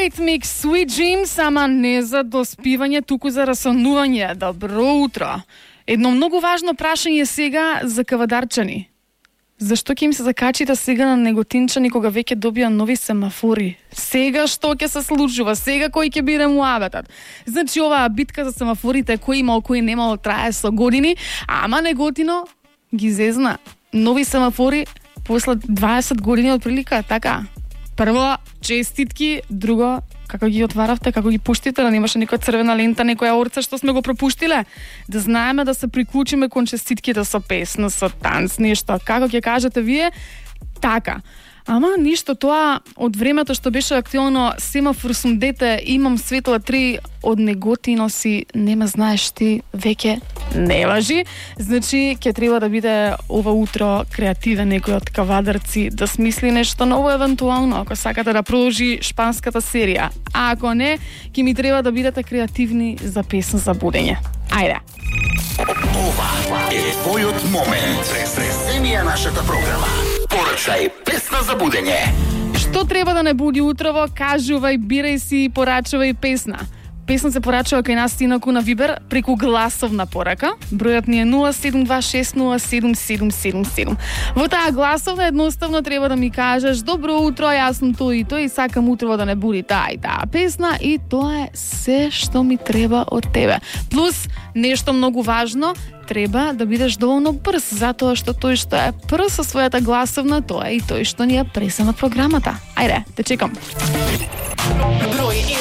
Eurythmics, Sweet Dreams, ама не за доспивање, туку за расонување. Добро утро. Едно многу важно прашање сега за кавадарчани. Зашто ќе им се закачите сега на неготинчани кога веќе добија нови семафори? Сега што ќе се случува? Сега кој ќе биде муабетот? Значи, оваа битка за семафорите, кој имал, кој немал, трае со години, ама неготино ги зезна. Нови семафори после 20 години од прилика, така? Прво, честитки, друго, како ги отваравте, како ги пуштите, да немаше некоја црвена лента, некоја орца што сме го пропуштиле, да знаеме да се приклучиме кон честитките со песна, со танц, нешто. Како ќе кажете вие? Така. Ама ништо, тоа од времето што беше актуелно, семафор сум дете, имам светла 3, од неготино си, нема знаеш ти, веќе не важи. Значи, ќе треба да биде ова утро креативен некој од кавадарци, да смисли нешто ново евентуално, ако сакате да продолжи шпанската серија. А ако не, ќе ми треба да бидете креативни за песна за будење. Ајде! Ова е твојот момент. Преземија нашата програма. Порачај песна за будење. Што треба да не буди утрово? Кажувај, бирај си и порачувај песна. Песна се порачува кај нас инаку на Вибер преку гласовна порака. Бројот ни е 0726077777. Во таа гласовна едноставно треба да ми кажеш: добро утро, јас сум тој и тој и сакам утрово да не буди таа и таа песна, и тоа е се што ми треба од тебе. Плюс нешто многу важно, треба да бидеш доволно брз, затоа што тој што е прв со својата гласовна, тоа е и тој што ни ја пресна на програмата. Ајде, те чекам. Број 1